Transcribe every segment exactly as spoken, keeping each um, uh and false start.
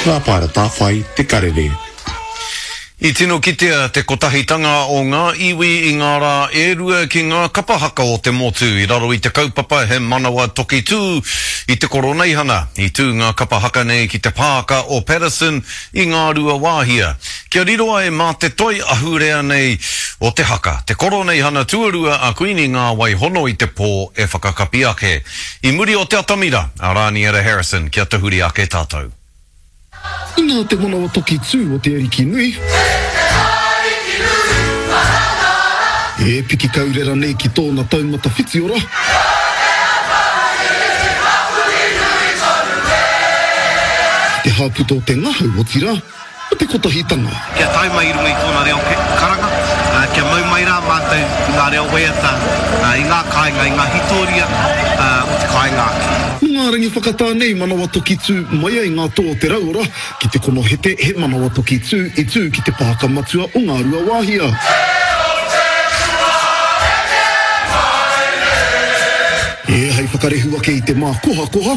Rāpaera Tāwhai, Te Karere. I tino kitea te kotahitanga o ngā iwi i ngā rā e rua ki ngā kapa haka o te motu i raro i te kaupapa He Manawa Toki Tū i te Koroneihana. I tū ngā kapa haka nei ki te pāka o Paterson i Ngāruawāhia. Kia riro ai mā te toi ahurea nei o te haka, te Koroneihana tuarua a Kuini Ngāwai Hono i te pō e whakakapi ake. I muri o te atamira a Rāniera Harrison kia tahuri ake tātou. Inā te manawa toki tū o te Ariki nui. E piki kaurera nei ki tōna taumata whitiora. Ki te hāputa o te ngahau, otirā, o te kotahitanga. Kia tae mai i runga i tōna reo karanga, kia mau mai rā mātou i ngā reo waiata, i ngā kāinga, i ngā hītōria o te kāinga ake. Mō ngā rangi whakatā nei manawa toki tū mai ai ngā toa o te rauora ki te konohete he manawa toki tū i tū ki te pāka matua o Ngāruawāhia. E hei whakarehu ake i te mākohakoha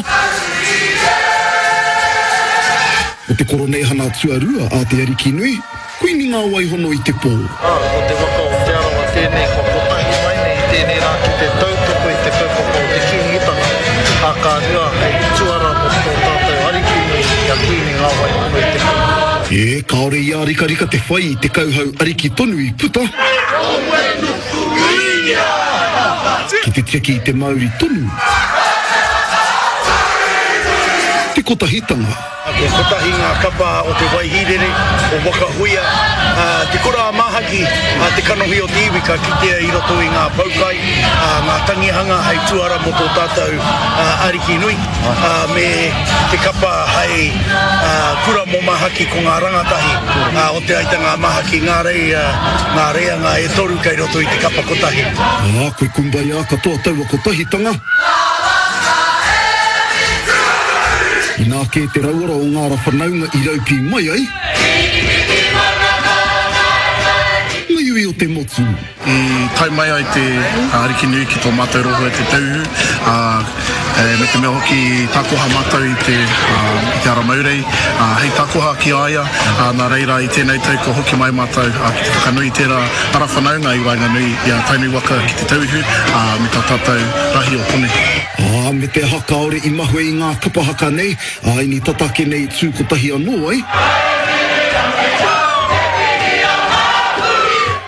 o te Koroneihana tuarua a Te Arikinui, Kuini Ngāwaihono i te pō. Ā, ko te waka o Te Arawa tēnei kua kotahi mai nei i tēnei rā ki te tautoko i te kaupapa o te Kīngitanga, ā, ka rua hei tuara mō tō tātou Ariki nui i a Kuini Ngāwaihono i te pō. E, kāore i ārikarika te whai i te kauhau ariki tonu i puta. Ki te tiaki i te mauri tonu. Te kotahitanga. Ko kotahi ngā kapa o Te Waihīrere, o Waka Huia, te kura a Māhaki, te kanohi o te iwi ka kitea i roto i ngā poukai, ngā tangihanga hei tuara mō tō tātou Ariki nui, me te kapa hei kura mō Māhaki ko ngā rangatahi o Te Aitanga a Māhaki, ngā reia, ngā reanga e toru kei roto i te kapa kotahi. Ā, koe kumbaya katoa taua kotahitanga. Inā kē te rauora o ngā ra whanaunga i raupī mai ai. Ngā iwi o te motu. I tae mai ai te Ariki nui ki tō mātou rohe te Tauihu, ā, me te mea hoki i takoha mātou i te, i te ara maurei, ā, hei takoha ki a ia, ā, nā reira i tēnei tau kua hoki mai mātou, ā, ki te whakanui i tērā ara whanaunga i waenganui i a Tainui waka ki te Tauihu, ā, me tā tātou rahi o konei. Ā, me te aha kāore i mahue i ngā kapa haka nei, ā, ini tata ake nei tū kotahi anō ai.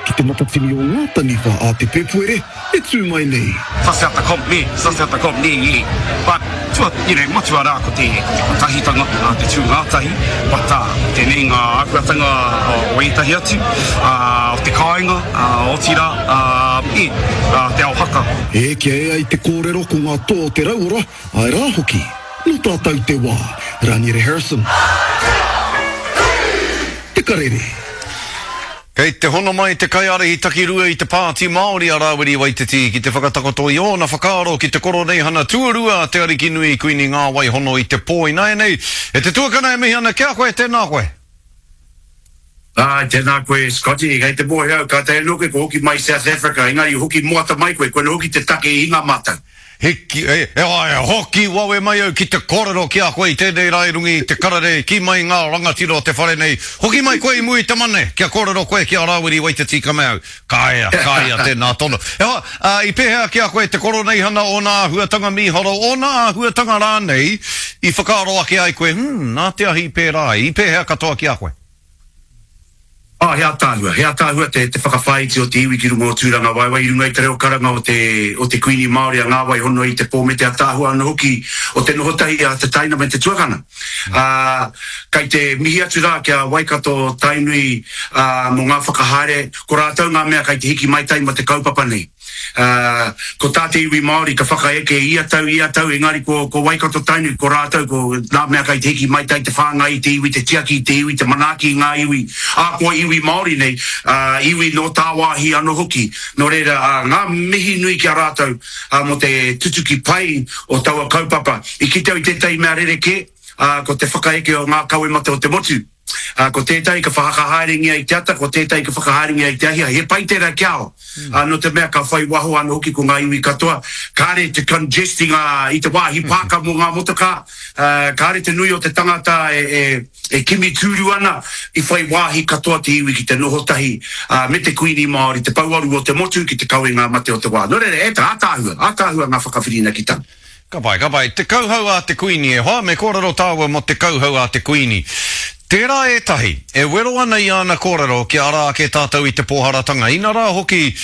Ki te matatini o ngā taniwha a te Pēpuere e tū mai nei. Ça c'est ata comp ne, ça c'est ata comp ne, yeah. But tua, you know, matua rā ko te, ko te kotahitanga, ā, te tū ngātahi, but ā, tēnei ngā āhuatanga o ētahi atu, ā, o te kāinga, ā, otirā, ā, e, ā, te ao haka. E, kia ea i te kōrero ko ngā toa o te rauora, āe rā hoki, nō tātou te wā. Raniere Harrison. Te Karere. Kei te hono mai te kaiārahi takirua i te Pāti Māori a Rāwiri Waititi ki te whakatakoto i ōna whakaaro ki te Koroneihana tuarua a Te Arikinui Kuini Ngāwai Hono i te pō ināianei. E te tuakana e mihi ana ki a koe, tēnā koe. Āe, tēnā koe Scotty, kei te mōhio au, kātahi anō koe kua hoki mai i South Africa, engari hoki moata mai koe, koinā hoki te take i hinga mātou. Hiki, e, e, āe, hoki wawe mai au ki te kōrero ki a koe i tēnei rā i runga i te karere, kī mai ngā rangatira o te whare nei, hoki mai koe i mua i te mane, kia kōrero koe ki a Rāwiri Waititi ka mea au, ka ea, ka ea tēnā tono. E hoa, ā, i pēhea ki a koe te koroneihana ōna āhuatanga mīharo, ōna āhuatanga rānei i whakaaro ake ai koe, hmm, nā te ahi i pērā ai, i pēhea katoa ki a koe? Ā, he ātaahua, he ātaahua te, te whakawhāiti o te iwi ki runga o Tūrangawaewae i runga i te reo karanga o te, o te Kuini Māori a Ngā Waihono i te pō me te ātaahua anō hoki o te noho tahi a te taina me te tuakana. Ā, kai te mihi atu rā ki a Waikato Tainui, ā, mō ngā whakahaere, ko rātou ngā mea kai te hiki maitai mō te kaupapa nei. Ā, ko tā te iwi Māori ka whakaeke ia tau, ia tau, engari ko, ko Waikato Tainui, ko rātou, ko ngā mea kai te hiki maitai, te whāngai i te iwi, te tiaki i te iwi, te manaaki i ngā iwi, ā, kua iwi Māori nei, ā, iwi nō tāwāhi anō hoki. Nō reira, ā, ngā mihi nui ki a rātou, ā, mō te tutuki pai o taua kaupapa. I kite au i tētahi mea rerekē, ā, ko te whakaeke o ngā kawemate o te motu. Uh, ko tētahi ka whakahaerengia i te ata, ko tētahi ka whakahaerengia i te ahiahi. He pai tērā ki ao. Mm. Uh, no te mea ka whai waho anō hoki ko ngā iwi katoa. Kāre te congest i, ngā, i te wāhi pāka mō ngā motokā. Uh, kāre te nui o te tangata e, e, e kimi tūru ana i whai wāhi katoa te iwi ki te noho tahi uh, me te Kuini Māori, te pouaru o te motu ki te kawe ngā mate o te wā. Nō reira, e tā, ātaahua, ātaahua ngā whakawhirinakitanga. Ka pai, ka pai. Te kauhau a te Kuini e hoa, me kōrero tāua mō te kauhau a te Kuini. Tērā ētahi, e wero ana i āna kōrero kia ara ake tātou i te pōharatanga. Ina rā hoki,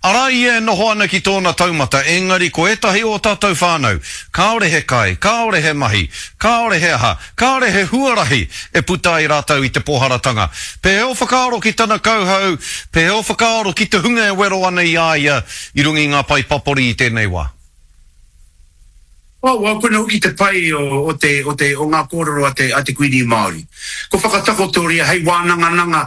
arā ia e noho ana ki tōna taumata, engari ko ētahi o tātou whānau, kāore he kai, kāore he mahi, kāore he aha, kāore he huarahi e puta ai rātou i te pōharatanga. Pēhea o whakaaro ki tana kauhau, pēhea o whakaaro ki te hunga e wero ana i a ia i runga i ngā pae papori i tēnei wā? Oh, well, koina hoki te pai o, o, te, o, te, o ngā kōrero a te, a te Kuini Māori. Ko whakatakotoria hei wānangananga,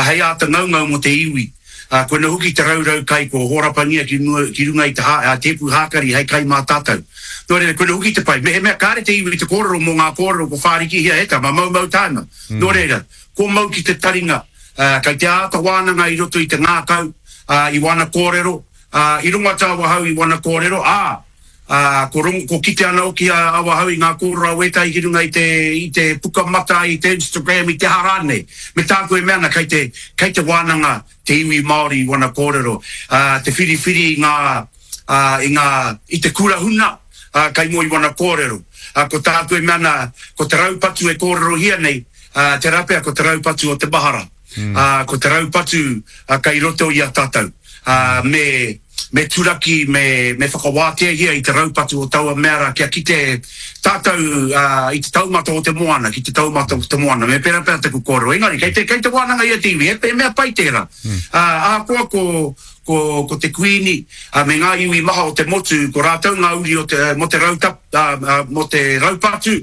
hei āta ngaungau mō te iwi. Uh, koina hoki te raurau kai ko hōrapangia ki, mua, ki runga i te ha, a tēpu hākari hei kai mā tātou. Nō reira, koina hoki te pai. Mehemea kāre te iwi te kōrero mō ngā kōrero ko whārikihia e tama, maumau tāna. Mm. Nō reira, ko mau ki te taringa, uh, kai te āta wānanga i roto i te ngākau, uh, i wana kōrero, uh, i runga tāwahau i wana kōrero, ā, Uh, ko, rongo, ko kite ana hoki a awahau i ngā kōrero a wētahi ki runga i te, i te pukamata, i te Instagram, i te aha rānei. Me tāku e mea ana, kei te, kei te wānanga te iwi Māori i wana kōrero. Uh, te whiriwhiri i ngā, uh, i ngā, i te kura huna, uh, kai mua i wana kōrero. Uh, ko tāku e mea ana, ko te raupatu e kōrerohia nei, uh, te rapea ko te raupatu o te mahara. Mm. Uh, ko te raupatu uh, kai roto i a tātou. Uh, me me turaki, me, me whakawāteahia i te raupatu o taua mea rā kia kite tātou uh, i te taumata o te moana, ki te taumata o te moana. Me pera pera taku kōrero. Engari, kei te, kei te wānanga ia te iwi, he, he mea pai tērā. Mm. Uh, ahakoa ko, ko, ko te Kuini uh, me ngā iwi maha o te motu, ko rātou ngā uri o te, mo te, rautap, uh, uh, mo te raupatu,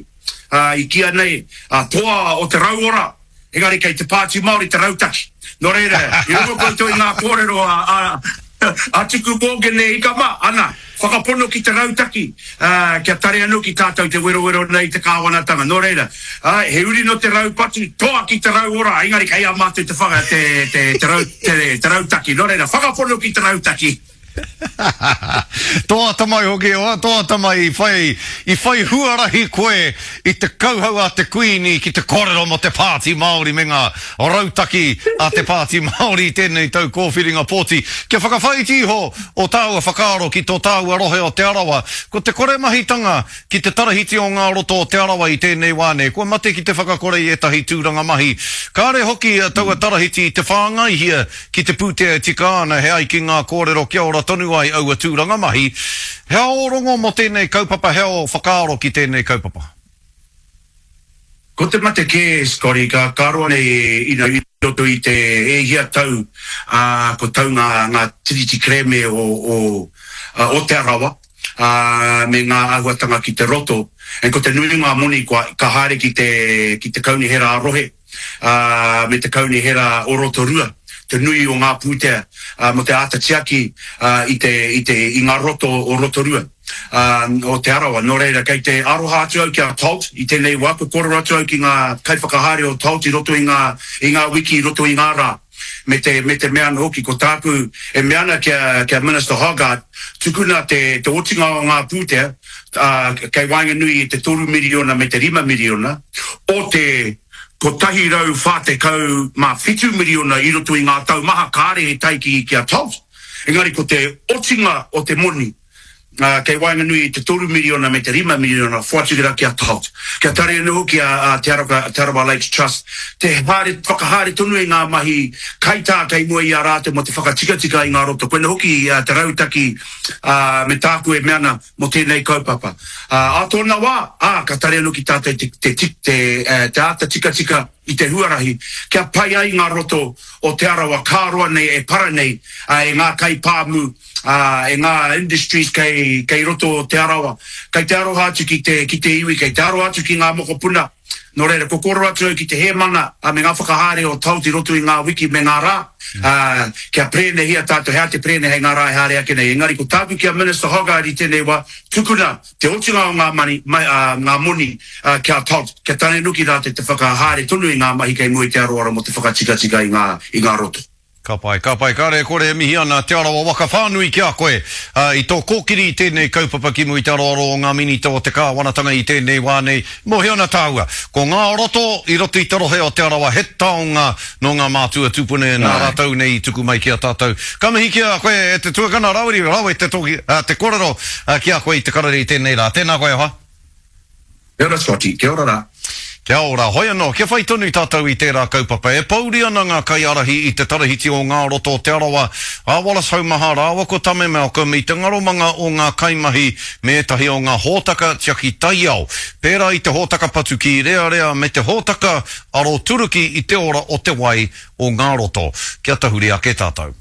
uh, i kia nei, uh, toa o te rauora, engari kei te Pāti Māori te rautaki. Nō reira, i rongo koutou i ngā kōrero a, a a Tuku Morgan e ika mā, ana, whakapono ki te rautaki, uh, kia tare anō ki tātou te werowero nei te kāwanatanga. Nō reira, uh, he uri no te raupatu, toa ki te rauora, engari kei a mātou te, whaka, te, te, te, rau, te, te rautaki. Nō reira, whakapono ki te rautaki. Toa tamai hoki, oa, toa tamai i whai, i whai huarahi koe i te kauhau a te Kuini ki te kōrero mō te Pāti Māori me ngā rautaki a te Pāti Māori i tēnei tau kōwhiringa pōti. Kia whakawhaiti iho o tāua whakaaro ki tō tāua rohe o Te Arawa, ko te kore mahitanga ki te tarahiti o ngā roto o Te Arawa i tēnei wā nei, kua mate ki te whakakore i ētahi tūranga mahi. Kāre hoki taua tarahiti i te whāngaihia ki te pūtea e tika ana he ai ki ngā kōrero kia ora tonu ai aua tūranga mahi. He ao rongo mō tēnei kaupapa, he ao whakaaro ki tēnei kaupapa? Ko te mate kē, Scotty, ka karoa nei i, i roto i te e hia tau, uh, ko tau ngā, ngā tiriti kerēme o, o, uh, o Te Arawa, uh, me ngā āhuatanga ki te roto. E ko te nui ngā moni kua, ka haere ki te, ki te kaunihera a rohe, uh, me te kaunihera o Rotorua, te nui o ngā pūtea uh, mo te āta tiaki uh, i, te, i, te, i ngā roto o Rotorua, uh, o Te Arawa. Nō reira, kei te aroha atu au ki a Tolt i tēnei wā, ko kōrero atu au ki ngā kaiwhakahaere o Tolt i roto i ngā, i ngā wiki, i roto i ngā rā. Me te, me te mea anō hoki, ko tāku e mea ana kia, kia Minister Hoggard, tukuna te, te otinga o ngā pūtea, uh, kei waenganui i te toru miriona me te rima miriona, o te kotahi rau whā tekau mā whitu miriona i roto i ngā tau maha kāre e tai ki, ki a Tolt. Engari ko te otinga o te moni, uh, kei waenganui i te toru miriona me te rima miriona, whoatukera ki a Tolt. Kia tare anō hoki a, a Te Arawa, Te Arawa Lakes Trust, te haere, whakahaere tonu i ngā mahi kaitā kei mua i a rātou mo te whakatikatika i ngā roto. Koina hoki uh, te rautaki uh, me tāku e mea ana mo tēnei kaupapa. Uh, a tōna wā, ā, ka tare anō ki tātou te, te, te, te, te āta tikatika i te huarahi, kia pai ai ngā roto o Te Arawa, kā roa nei e para nei, uh, e ngā kaipāmu, uh, e ngā industries kei, kei, kei roto o Te Arawa. Kei te aroha atu ki te, ki te iwi, kei te aroha atu ki ngā mokopuna. Nō reira, ko kōrero atu au ki te hēmana me ngā whakahaere o Taut i roto i ngā wiki me ngā rā, ā, kia prēnehia tātou, he aha te prēne hei ngā rā e haere ake nei. Engari ko tāku ki a Minister Hoggard i tēnei wā, tukuna te otinga o ngā mani, mai, ā, ngā moni, ā, ki a Taut, kia tanenuki rātou te whakahaere tonu i ngā mahi kei mua i te aroaro mō te whakatikatika i ngā, i ngā roto. Ka pai, ka pai, kāre e kore e mihi ana Te Arawa waka whānui ki a koe i tō kōkiri i tēnei kaupapa ki mua i te aroaro o ngā Minita o te Kāwanatanga i tēnei wā nei. Mōhio ana tāua, ko ngā roto i roto i te rohe o Te Arawa he taonga nō ngā mātua tūpune nā rātou nei i tuku mai ki a tātou. Ka mihi ki a koe e te tuakana Rawiri, rawe te toki, te korero ki a koe i te karere i tēnei rā. Tēnā koe e hoa. Kia ora Scotty, kia ora rā. Kia ora, hoi anō, kia whai tonu tātou i tērā kaupapa. E pouri ana ngā kaiārahi i te tarahiti o ngā roto o Te Arawa, a Wallace Haumaha rāua ko Tame Malcolm i te ngaromanga o ngā kaimahi me ētahi o ngā hōtaka tiaki taiao, pērā i te hōtaka patu kīrearea me te hōtaka aroturuki i te ora o te wai o ngā roto. Kia tahuri ake tātou.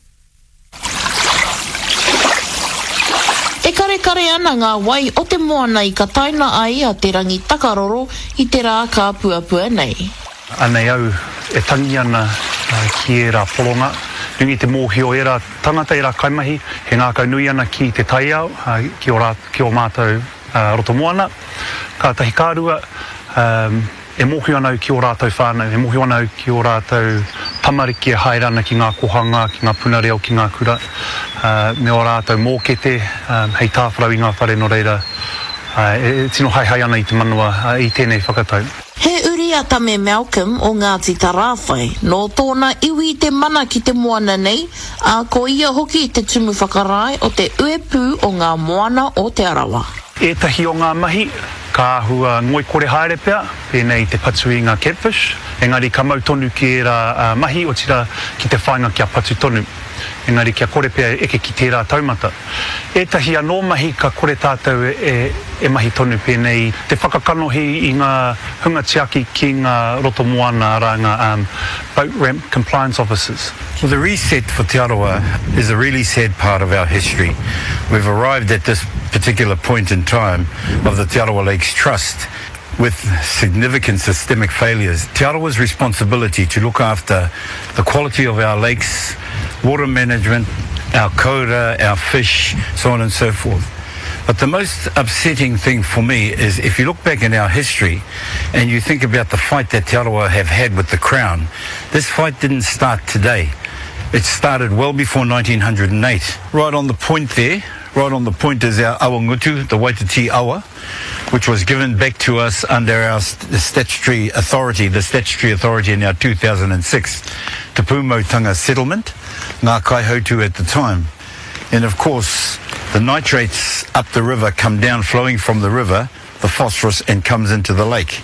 E karekare ana ngā wai o te moana i kataina ai a Te Rangitakaroro i te rā kāpuapua nei. Anei au e tangi ana ki ērā poronga, nui te mōhio ērā tangata, ērā kaimahi, he ngākau nui ana ki te taiao, ki ō rā, ki ō mātou roto moana. Kātahi ka rua, E mōhio ana au ki ō rātou whānau, e mōhio ana au ki ō rātou tamariki e haere ana ki ngā kohanga, ki ngā puna reo, ki ngā kura, me ō rātou mōkete hei tāwharau i ngā whare nō reira e tino haehae ana i te manawa i tēnei whakatau. He uri a Tame Malcolm o Ngāti Tarāwhai, nō tōna iwi te mana ki te moana nei, ā, ko ia hoki te tumu whakarae o te uepū o ngā moana o Te Arawa. Ētahi o ngā mahi ka āhua ngoikore haere pea, pēnei i te patu i ngā catfish, engari ka mau tonu ki ērā mahi, otirā ki te whāinga kia patu tonu, engari kia kore pea e eke ki tērā taumata. Ētahi anō mahi ka kore tātou e mahi tonu, pēnei i te whakakanohi i ngā hunga tiaki ki ngā roto moana, arā ngā boat ramp compliance officers. Well, the reset for Te Arawa is a really sad part of our history. We've arrived at this particular point in time of the Te Arawa Lakes Trust with significant systemic failures. Te Arawa's responsibility to look after the quality of our lakes, water management, our koura, our fish, so on and so forth. But the most upsetting thing for me is if you look back in our history and you think about the fight that Te Arawa have had with the Crown, this fight didn't start today. It started well before nineteen hundred and eight. Right on the point there, right on the point is our awangutu, the Waititi awa, which was given back to us under our st-, statutory authority, the statutory authority in our two thousand and six Te Pūmautanga settlement, Ngā Kaihautu at the time. And of course, the nitrates up the river come down flowing from the river, the phosphorus, and comes into the lake.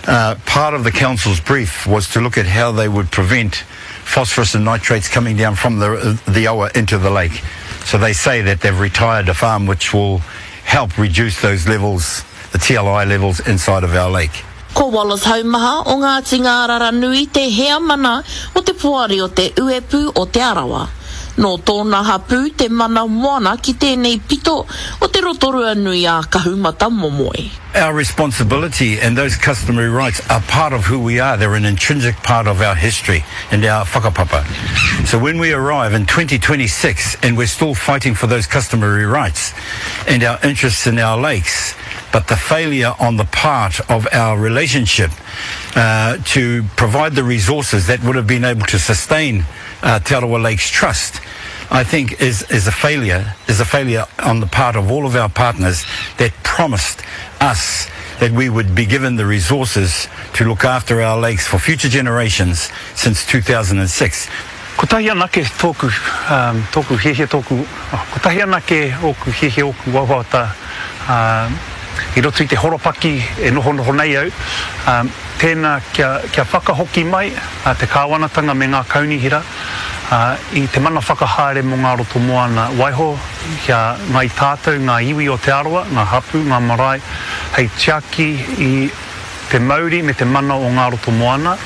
Uh, part of the council's brief was to look at how they would prevent phosphorus and nitrates coming down from the, the awa into the lake. So they say that they've retired a farm which will help reduce those levels, the T L I levels inside of our lake. Ko Wallace Haumaha o Ngāti Ngāraranui te heamana o te poari o te uepu o Te Arawa. Nō tōna hapū te mana moana ki tēnei pito o te Rotorua nui a Kahumata Momoe. Our responsibility and those customary rights are part of who we are. They're an intrinsic part of our history and our whakapapa. So when we arrive in twenty twenty-six and we're still fighting for those customary rights and our interests in our lakes, but the failure on the part of our relationship, uh, to provide the resources that would have been able to sustain, uh, Te Arawa Lakes Trust, I think is, is a failure, is a failure on the part of all of our partners that promised us that we would be given the resources to look after our lakes for future generations since two thousand and six. Kotahi anake tōku, um, tōku hiahia, tōku, oh, kotahi anake ōku hiahia, ōku wawata, um, i roto i te horopaki e noho noho nei au, um, tēnā kia, kia whakahoki mai, uh, te kāwanatanga me ngā kaunihira, uh, i te mana whakahaere mō ngā roto moana. Waiho kia ngai tātou ngā iwi o Te Arawa, ngā hapu, ngā marae, hei tiaki i te mauri me te mana o ngā roto moana.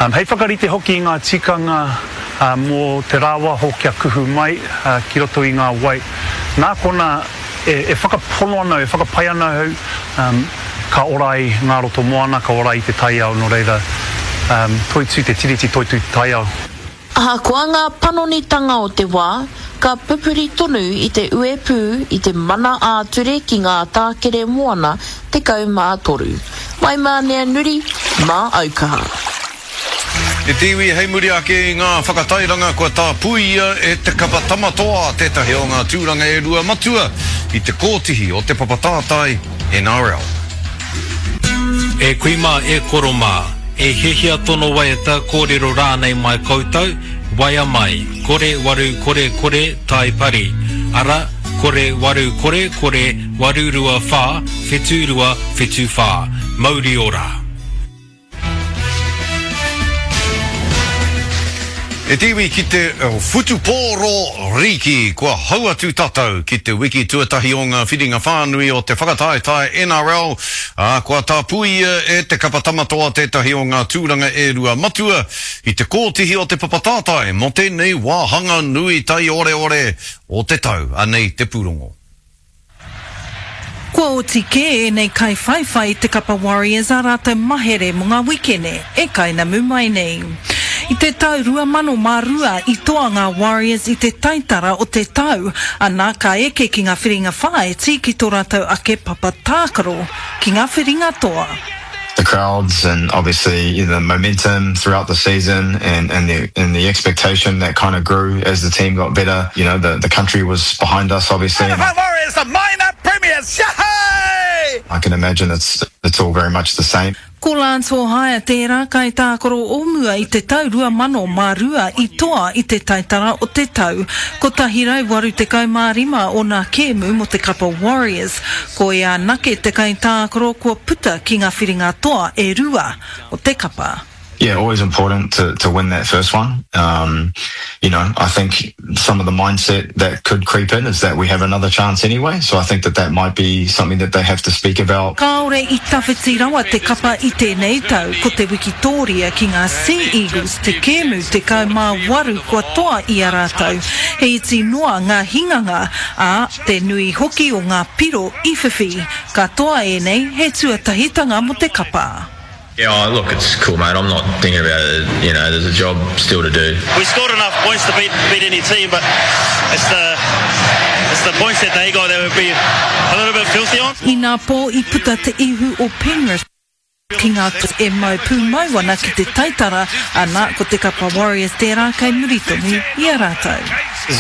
Um, hei whakarite hoki i ngā tikanga, uh, mō te rāwaho kia kuhu mai, uh, ki roto i ngā wai. Nā kona E, e whakapono ana, e whakapai ana au, um, ka ora ai ngā roto moana, ka ora ai te taiao, nō reira, um, toitū te tiriti, toitū te taiao. Ahakoa ngā panonitanga o te wā, ka pupuri tonu i te uepū i te mana ā-ture ki ngā tākere moana tekau mā toru. Waimānea Nuri, mā Aukaha. E te iwi, hei muri ake i ngā whakatairanga kua tāpuia e te kapa Tama Toa tētahi o ngā tūranga e rua matua i te kōtihi o te papa tātai N R L. E kui mā, e koro mā, e hiahia tono waiata, kōrero rānei mai koutou, waea mai, kore waru kore kore tai pari, ara, kore waru kore kore waru rua whā, whitu rua whitu whā. Mauri ora! E te iwi ki te whutupōro rīki, kua hau atu tātou ki te wiki tuatahi o ngā whiringa whānui o te whakataetae N R L, ā, kua tāpuia e te kapa Tama Toa tētahi o ngā tūranga e rua matua i te kōtihi o te papa tātai mō tēnei wāhanga nui taioreore o te tau. Anei te pūrongo. Kua oti kē ēnei kaiwhaiwhai i te kapa Warriors ā rātou mahere mō ngā wikene e kainamu mai nei. I te tau rua mano mā rua i toa ngā Warriors i te taitara o te tau, ana ka eke ki ngā whiringa whāiti ki tō rātou ake papa tākaro ki ngā whiringa toa. The crowds and obviously the momentum throughout the season and, and the and the expectation that kind of grew as the team got better. You know, the, the country was behind us, obviously. And Warriors, the minor premiers. Yay! I can imagine it's it's all very much the same. Ko Lance Hohaia tērā kaitākaro o mua i te tau rua mano mā rua i toa i te taitara o te tau. Kotahi rau waru tekau mā rima ōna kēmu mō te kapa Warriors. Ko ia anake te kaitākaro kua puta ki ngā whiringa toa e rua o te kapa. Yeah, always important to, to win that first one. Um, you know, I think some of the mindset that could creep in is that we have another chance anyway. So I think that that might be something that they have to speak about. Kāore i tawhiti rawa te kapa i tēnei tau, ko te wikitōria ki ngā Sea Eagles te kēmu tekau mā waru kua toa i a rātou. He iti noa ngā hinganga, ā, te nui hoki o ngā piro i whiwhi. Katoa ēnei he tuatahitanga mō te kapa. Yeah, oh, look, it's cool, mate. I'm not thinking about it. You know, there's a job still to do. We scored enough points to beat beat any team, but it's the it's the points that they got that would be a little bit filthy on. Inapō i puta te ihu o Penrith ki ngā e mau pūmau ana ki te taitara, ana ko te kapa Warriors tērā kei muri tonu i a rātou.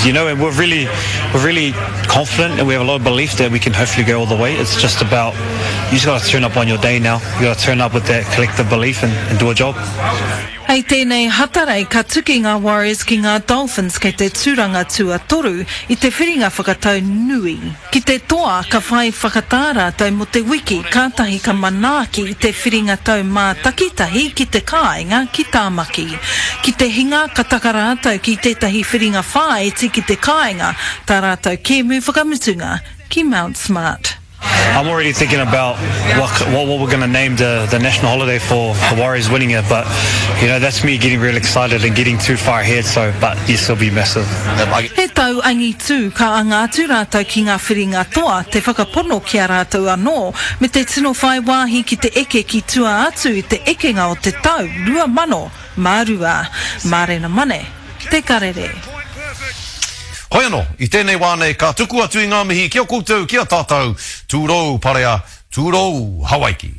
You know, and we're really, we're really confident and we have a lot of belief that we can hopefully go all the way. It's just about, you just got to turn up on your day now. You got to turn up with that collective belief and, and do a job. Hei tēnei Hatarei ka tuki ngā Warriors ki ngā Dolphins kei te tūranga tuatoru i te whiringa whakatau nui. Ki te toa ka whai whakatā rātou mō te wiki kātahi ka manaaki i te whiringa tau mātakitahi ki te kāinga ki Tāmaki. Ki te hinga ka taka rātou ki tētahi whiringa whāiti ki te kāinga, tā rātou kēmu whakamutunga ki Mount Smart. I'm already thinking about what, what, what we're going to name the, the national holiday for the Warriors winning it, but you know that's me getting really excited and getting too far ahead. So, but yes, it'll be massive. He tau angitū ka anga atu rātou ki ngā whiringa toa, te whakapono ki a rātou anō, me te tino whai wāhi ki te eke ki tua atu i te ekenga o te tau rua mano mā rua. Mārena Mane, Te Karere. Hoi anō, i tēnei wā nei ka tuku atu i ngā mihi ki a koutou, ki a tātou, tūrou parea, tūrou Hawaiki.